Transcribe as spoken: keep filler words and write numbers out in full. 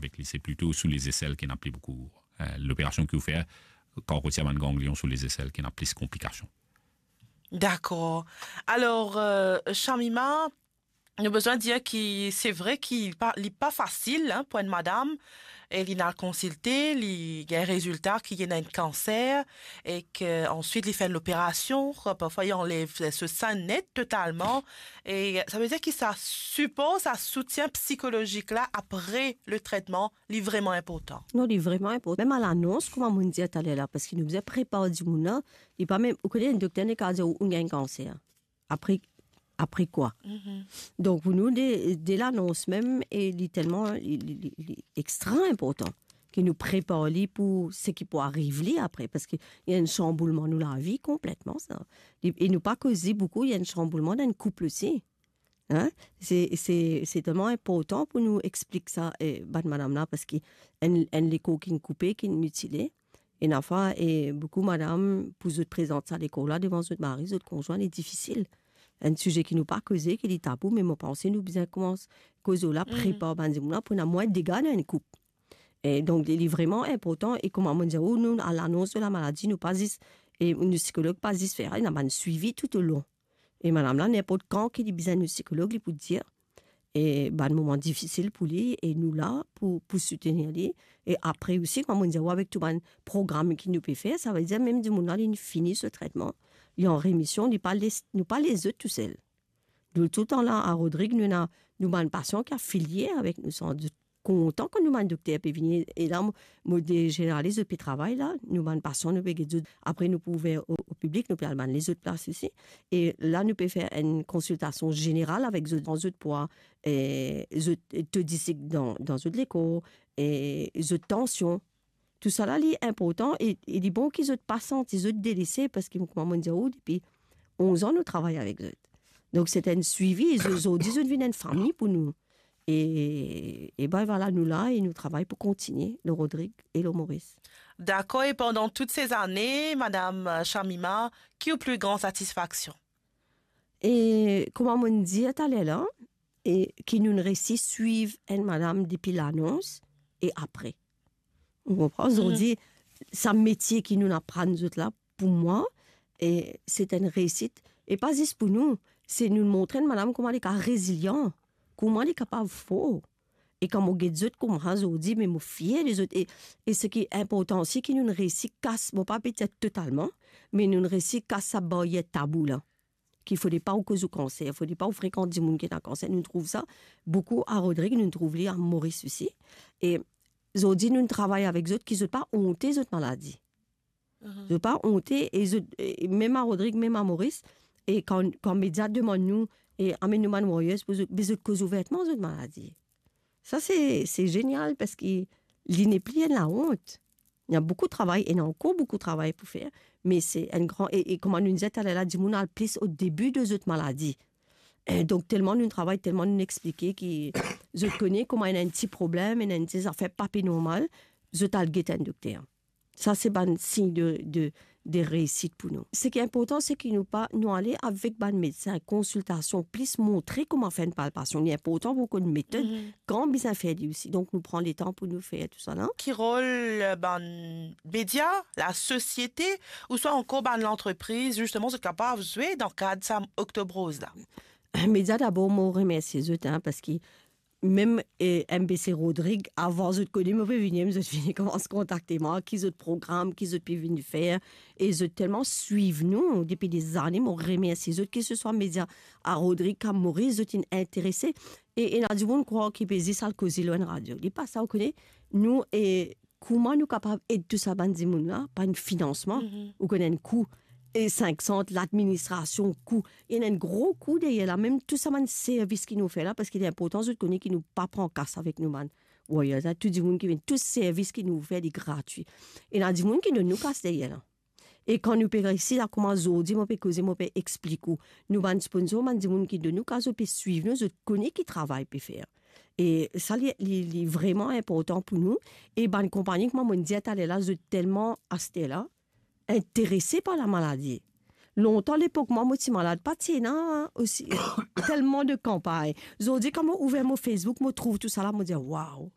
avek li. Se plito sou lezesel ki ena pli boukou, eh, loperasion ki ou fer, kan ou retir bann ganglion sou lezesel ki ena plis konplikasion. Dakor. Alor, eh, Shamima, nou bizin dir ki se vre ki li pa, li pa fasil, hein, pou enn madam, e li al konsilte, li gagn rezilta ki li ena enn kanser, e ki answit li fer enn loperasion, parfwa li anlev so sin net totalman, e sa ve dir ki sa sipor, sa soutien psikolozik la apre le tretman, li vreman inportan. Non, li vreman inportan. Mem a lanons, kouma mo'nn dir taler la, parski nou bizin prepar dimoun la, li pa mem, ou kone enn dokter nek a dir ou, ou gagn kanser. Apre, apre kwa? Mhm. Donk, pou nou, de, de lanons mem, e li telman, li, li, li, li extra inportan ki nou prepar li pou seki pou ariv li apre, parski li enn sanboulman nou lavi konpletman, sa. Li, e nou pa koze boukou, li enn sanboulman dan enn koup osi. Hein? Se, se, se telman inportan pou nou explik sa, eh, bann madam la, parski enn, enn lekor ki'nn koupe, ki'nn mitile, ena fwa, e boukou madam, pou zot prezant sa lekor la devan zot mari, zot konzwin, li difisil. Enn size ki nou pa koze, ki li tabou, me mo panse nou bizin koumans koz la, mm, prepar bann dimoun la pou ena mwin dega dan enn koup. E donk, li, li vreman inportan, e kouma mo dir ou, nou, a lanons de la maladi, nou pa zis, e nou sikolog pa zis fer, ena bann swivi toutolong. E madam la, ninport kan ki li bizin nou sikolog, li pou dir, e bann moman difisil pou li, e nou la pou, pou soutenir li. E apre osi, kouma mo dir ou, avek tou bann program ki nou pe fer, sa ve dir mem dimoun la, li fini so tretman, li an remision, li pa les, nou pa les zot tousel. Nou toultan la, a Rodrig, nou ena nou bann pasian ki afilie avek nou, san dout kontan kan nou bann dokter pe vini. E la, mo, mo de zeneraliz, zot pe travay la, nou bann pasian, nou pe get zot. Apre, nou pou ouver o, o piblik, nou pe al bann lezot plas osi. E la, nou pe fer enn konsiltasion zeneral avek zot, dan zot pwa, eh, zot to disik dan, dan zot lekor, e zot tansion. Tousala, li inportan e, e li bon ki zot pa santi zot delese, parski, kouma mo dir ou, depi onz an, nou travay avek zot. Donk, se enn swivi, e zot, zordi, zot vinn enn fami pou nou. E, e ben, vwala, nou la e nou travay pou kontigne lor Rodrig e lor Moris. Dakor, e pandan tout se zane, madam, eh, Shamima, ki ou pli gran satisfaksion? E kouma mo'nn dir taler la, e ki nou'nn resi swiv enn madam depi lanons e apre. Ou konpran? Mhm. Zordi, sa metie ki nou'nn aprann zot la, pou mwa, e se enn reisit. E pa zis pou nou, se nou'nn montre enn madam kouma li kapav rezilian, kouma li kapav for. E kan mo get zot kouma zordi, me mo fier de zot. E, e seki inportan osi, ki nou'nn resi kas, mo pa pe dir totalman, me nou'nn resi kas sa baryer tabou la. Ki fode pa ou koz ou kanser, fode pa ou frekant dimoun ki ena kanser. Nou trouv sa boukou a Rodrig, nou trouv li a Moris osi. E zordi, nou travay avek zot, ki zot pa onte zot maladi. Mhm. Zot pa onte, e zot, e mem a Rodrig, mem a Moris, e kan, kan media demann nou, e amenn nou bann warriors pou zot, be zot koz ouvertman zot maladi. Sa, se, se zenial, parski li nepli enn laont. Ena boukou travay, ena ankor boukou travay pou fer, me se enn gran, e, e kouma nou dir taler la, dimoun al plis o debi de zot maladi. E donk, telman nou travay, telman nou explike ki zot kone kouma ena enn ti problem, ena enn ti zafer pa pe normal, zot al get enn dokter. Sa, se bann sign de, de, de reisit pou nou. Seki inportan, se ki nou pa, nou ale avek bann medsin, konsiltasion, plis montre kouma fer enn palpasion. Li inportan pou konn metod, mhm, kan bizin fer li osi. Donk, nou pran letan pou nou fer tousala. Ki rol, eh, bann media, lasosiete, ouswa ankor bann lantrepriz, zisteman, zot kapav zwe dan kad sa Oktob Roz la? Media, dabor, mo remersie zot, hein, parski mem, eh, M B C Rodrig, avan zot kone mo pe vini, zot fini koumans kontakte mwa, ki zot program, ki zot pe vinn fer, e zot telman swiv nou depi dezane, mo remersie zot, ki se swa media a Rodrig, a Moris, zot inn interese, e ena dimoun krwar ki pe zis al koze lor enn radio. Li pa sa, ou kone, nou, e kouma nou kapav ed tou sa bann dimoun la, par enn finansman, mhm, ou kone enn kou, e sink san, ladministrasion, kou, ena enn gro kou deryer la, mem tou sa bann servis ki nou fer la, parski li inportan zot kone ki nou pa pran kas avek nou bann warriors la, tou dimoun ki vinn, tou servis ki nou fer, li gratwi. Ena dimoun ki donn nou kas deryer la. E kan nou pe resi la, kouma zordi mo pe koze, mo pe explik ou, nou bann sponsor, bann dimoun ki donn nou kas, zot pe swiv nou, zot kone ki travay pe fer. E sa, li, li, li vreman inportan pou nou. E bann konpagni, kouma mo'nn dir taler la, zot telman aster la interese par lamaladi. Lontan, lepok mwa, mo ti malad, pa ti ena osi telman de kanpagn. Zordi, kan mo ouver mo Facebook, mo trouv tousala, mo dir, waw,